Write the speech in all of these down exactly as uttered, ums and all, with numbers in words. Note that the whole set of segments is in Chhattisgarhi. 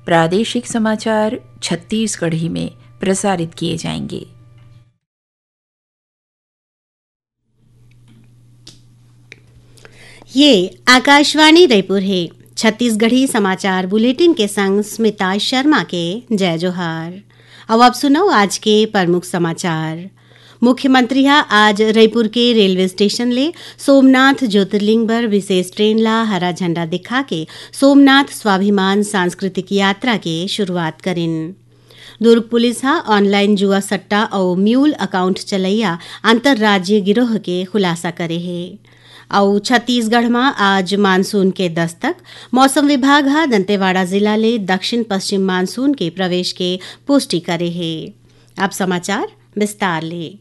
प्रादेशिक समाचार छत्तीसगढ़ी में प्रसारित किए जाएंगे। ये आकाशवाणी रायपुर हे। छत्तीसगढ़ी समाचार बुलेटिन के संग स्मिता शर्मा के जय जोहार। अब आप सुनव आज के प्रमुख समाचार। मुख्यमंत्री ह आज रईपुर के रेलवे स्टेशन ले सोमनाथ ज्योतिर्लिंग बर विशेष ट्रेन ला हरा झंडा दिखा के सोमनाथ स्वाभिमान सांस्कृतिक यात्रा के शुरुआत करिन। दुर्ग पुलिस ह ऑनलाइन जुआ सट्टा अउ म्यूल अकाउंट चलैया अंतर्राज्यीय गिरोह के खुलासा करे हे। अउ छत्तीसगढ़ म आज मानसून के दस्तक, मौसम विभाग ह दंतेवाड़ा जिला ले दक्षिण पश्चिम मानसून के प्रवेश के पुष्टि करे हे। अब समाचार विस्तार ले।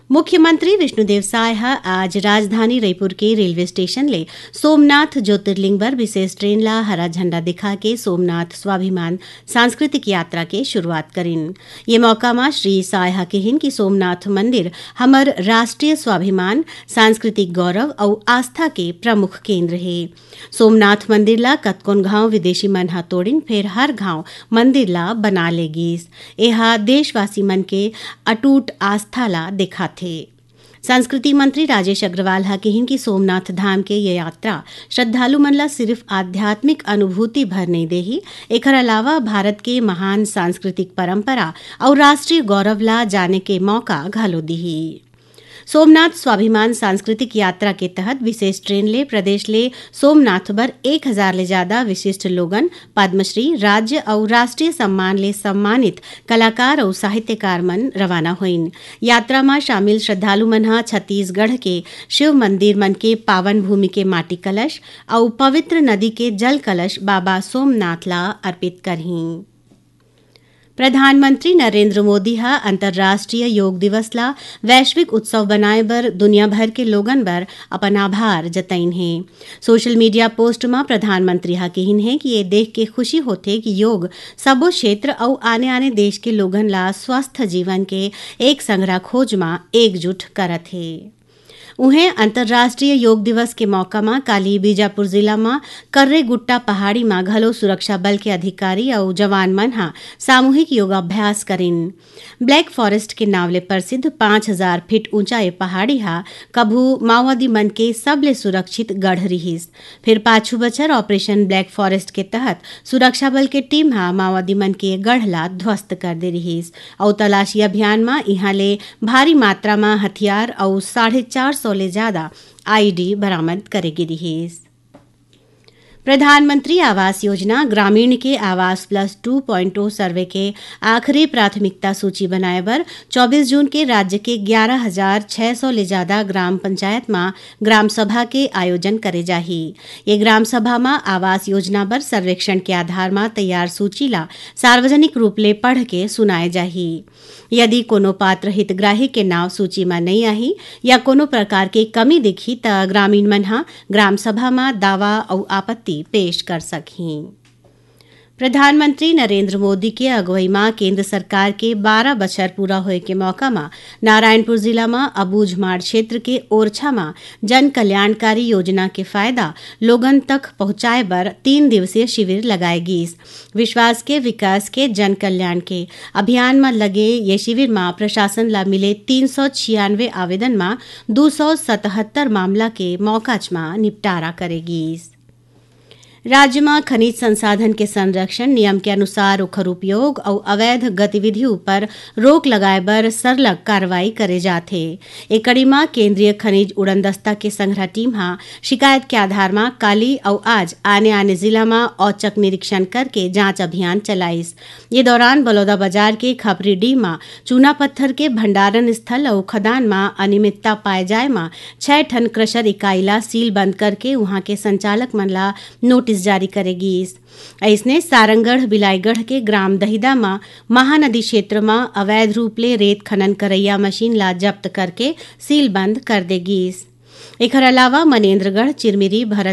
मुख्यमंत्री विष्णुदेव साय ह आज राजधानी रईपुर के रेलवे स्टेशन ले सोमनाथ ज्योतिर्लिंग बर विशेष ट्रेन ला हरा झंडा दिखा के सोमनाथ स्वाभिमान सांस्कृतिक यात्रा के शुरुआत करिन। ये मौका म श्री साय ह किहिन कि सोमनाथ मंदिर हमर राष्ट्रीय स्वाभिमान, सांस्कृतिक गौरव अउ आस्था के प्रमुख केंद्र हे। सोमनाथ मंदिर ला कतकोन घांव विदेशी मन ह तोड़िन, फेर हर घांव मंदिर ला बना ले गीस। एहा देशवासी मन के अटूट आस्था ला देखाथे। संस्कृति मंत्री राजेश अग्रवाल ह किहिन कि सोमनाथ धाम के ये यात्रा श्रद्धालु मन ला सिर्फ आध्यात्मिक अनुभूति भर नइ देही, एखर अलावा भारत के महान सांस्कृतिक परंपरा अउ राष्ट्रीय गौरव ला जाने के मौका घलो दिही। सोमनाथ स्वाभिमान सांस्कृतिक यात्रा के तहत विशेष ट्रेन ले प्रदेश ले सोमनाथ बर एक हजार ले ज्यादा विशिष्ट लोगन पद्मश्री, राज्य अउ राष्ट्रीय सम्मान ले सम्मानित कलाकार अउ साहित्यकार मन रवाना होइन। यात्रा म शामिल श्रद्धालु मन ह छत्तीसगढ़ के शिव मंदिर मन के पावन भूमि के माटी कलश अउ पवित्र नदी के जल कलश बाबा सोमनाथ ला अर्पित करहीं। प्रधानमंत्री नरेंद्र मोदी ह अंतर्राष्ट्रीय योग दिवस ला वैश्विक उत्सव बनाए बर दुनिया भर के लोगन बर अपन आभार जतइन हे। सोशल मीडिया पोस्ट म प्रधानमंत्री ह किहिन हे कि ये देख के खुशी होथे कि योग सबो क्षेत्र अउ आने-आने देश के लोगन ला स्वस्थ जीवन के एक संघरा खोज म एकजुट करत हे। उहें, अंतर्राष्ट्रीय योग दिवस के मौका म काली बीजापुर जिला म कर्रेगुट्टा पहाड़ी म घलो सुरक्षा बल के अधिकारी अउ जवान मन ह सामूहिक योगाभ्यास करिन। ब्लैक फॉरेस्ट के नाव ले प्रसिद्ध पाँच हजार फीट ऊंचा ये पहाड़ी ह कभू माओवादी मन के सबले सुरक्षित गढ़ रिहिस। फिर पाछू बछर ऑपरेशन ब्लैक फॉरेस्ट के तहत सुरक्षा बल के टीम ह माओवादी मन के गढ़ ला ध्वस्त कर दे रिहिस अउ तलाशी अभियान म इहां ले भारी मात्रा म हथियार अउ साढ़े चार सौ ले ज्यादा आईईडी बरामद करे गे रिहिस। प्रधानमंत्री आवास योजना ग्रामीण के आवास प्लस टू पॉइंट ओ सर्वे के आखिरी प्राथमिकता सूची बनाए बर चौबीस जून के राज्य के ग्यारह हजार छह सौ ले ज्यादा ग्राम पंचायत म ग्राम सभा के आयोजन करे जाही। ये ग्राम सभा म आवास योजना बर सर्वेक्षण के आधार म तैयार सूची ला सार्वजनिक रूप ले पढ़ के सुनाए जाही। यदि कोनो पात्र हितग्राही के नाव सूची म नइ आही या कोनो प्रकार के कमी दिखही, त ग्रामीण मन ह ग्राम सभा म दावा अउ आपत्ति पेश कर सकही। प्रधानमंत्री नरेंद्र मोदी के अगुवई म केंद्र सरकार के बारह बछर पूरा होए के मौका म नारायणपुर जिला म अबूझमाड़ क्षेत्र के ओरछा म जन कल्याणकारी योजना के फायदा लोगन तक पहुंचाए बर तीन दिवसीय शिविर लगाए गीस। विश्वास के विकास के जन कल्याण के अभियान म लगे ये शिविर म प्रशासन ला मिले तीन सौ छियानवे आवेदन म दू सौ सतहत्तर मामला के मौकाच म निपटारा करे गीस। राज्य म खनिज संसाधन के संरक्षण, नियम के अनुसार ओखर उपयोग अउ अवैध गतिविधि ऊपर रोक लगाए बर सरलग कार्रवाई करे जाथे। ए कड़ी म केंद्रीय खनिज उड़नदस्ता के संघरा टीम ह शिकायत के आधार म काली अउ आज आने-आने जिला म औचक निरीक्षण करके जांच अभियान चलाइस। ये दौरान बलौदाबाजार के खपरीडीह म चूना पत्थर के भंडारण स्थल अउ खदान म अनियमितता पाए जाए म छह ठन क्रशर इकाई ला सीलबंद करके उहां के संचालक मन ला नोटिस जारी करे गीस। अइसने सारंगढ़ बिलाईगढ़ के ग्राम दहिदा म महानदी क्षेत्र म अवैध रूप ले रेत खनन करइया मशीन ला जब्त करके सीलबंद कर दे गीस। एखर अलावा मनेन्द्रगढ़, चिरमिरी, भरत